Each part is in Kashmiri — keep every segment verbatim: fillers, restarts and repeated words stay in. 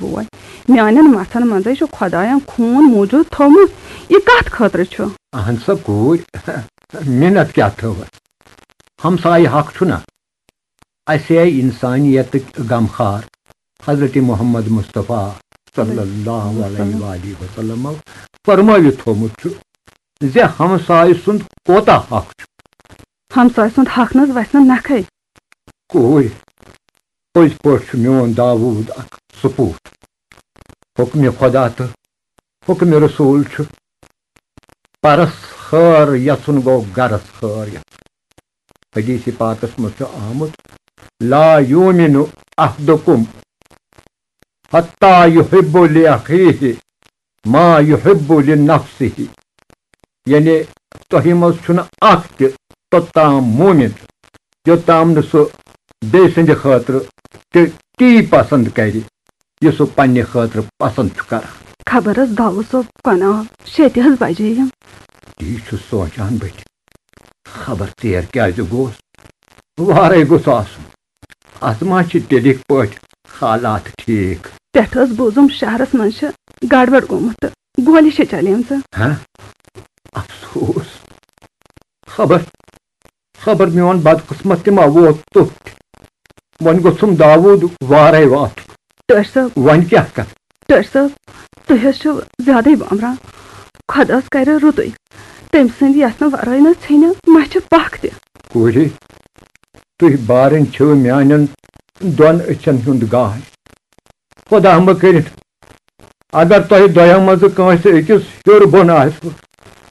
بوے، میانٮ۪ن مژھن منٛزے چھُ خۄداین خوٗن موٗجوٗد تھوٚومُت۔ یہِ کتھ خٲطرٕ چھُ؟ اہن سا کوٗرۍ، مِنت کیٛاہ تھٲوٕس؟ ہمسایہِ حق چھُنہ؟ اسہِ ہے انسانیتٕکۍ غمخار حضرت محمد مصطفیٰ صلی اللہ علیہ وآلہ وسلم فرمٲوِتھ تھوٚومُت چھُ زِ ہمسایہِ سُنٛد کوتاہ حق چھُ۔ ہمسایہِ سُنٛد حق نہٕ حظ وَسہِ نہٕ نکھے۔ کوٗرۍ، پٔزۍ پٲٹھۍ چھُ میون داوود اکھ سپوٗت۔ حُکمِ خۄدا تہٕ حُکمِ رسول چھُ پرس خٲر یژھُن گوٚو گرس خٲر یژھُن۔ حدیث پاکس منٛز چھُ آمُت، "لا یؤمن احدکم حتی یحب لأخیہ ما یحب لنفسہ"، یعنی تۄہہِ منٛز چھُنہٕ اکھ تہِ توٚتام مومن، یوٚتام نہٕ سُہ بیٚیہِ سٕنٛدِ خٲطرٕ تہِ تی پسند کرِ، یہِ سُہ پننہِ خٲطرٕ پسند چھُ کران۔ خبر حظ داوود صٲب کۄنہٕ آو، شیٚتہِ حظ بجے یِم۔ تی چھُس سونچان بہٕ تہِ۔ خبر ژیر کیازِ گوس؟ وارے گوٚژھ آسُن۔ از ما چھِ تیٚلہِ پٲٹھۍ حالات ٹھیک؟ پٮ۪ٹھٕ حظ بوٗزُم شہرس منٛز چھِ گڑبڑ گوٚمُت تہٕ گولہِ چھِ چلیمژٕ۔ ہاں؟ افسوس۔ خبر، خبر میون بدقسمت تہِ ما ووت توٚت۔ وۄنۍ گوٚژھُم داوود وارے واتُن۔ ٹٲٹھۍ صٲب۔ وۄنۍ کیٛاہ کرٕ؟ ٹٲٹھۍ صٲب، تُہۍ حظ چھِو زیادَے بامبران۔ خۄداہَس کَرِ رُتُے۔ تٔمۍ سٕنٛدِ یَژھنہٕ وَرٲے نہٕ ژھیٚنہِ مَچھِ پَکھ تہِ۔ کوٗرِ، تُہۍ بارٕنۍ چھِو میٛانٮ۪ن دۄن أچھَن ہُنٛد گاش۔ خۄدا مہٕ کٔرِتھ، اگر تۄہہِ دۄیو منٛزٕ کٲنٛسہِ أکِس ہیوٚر بۄن آسِوٕ،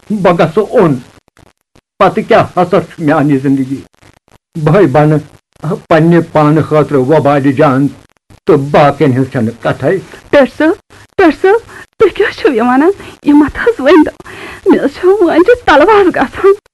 بہٕ گژھٕ اوٚن۔ پتہٕ کیٛاہ حسر چھُ میانہِ زندگی؟ بہٕ بنہٕ پننہِ پانہٕ خٲطرٕ وبالہِ جان تہٕ باقین ہٕنٛز چھنہٕ کتھے۔ ٹٲٹھۍ صٲب، ٹٲٹھۍ صٲب، تُہۍ کیٛاہ چھِو یہِ ونان؟ یہِ مت حظ ؤنۍ تو۔ مےٚ حظ چھِ وٲنجہِ تلواس گژھان۔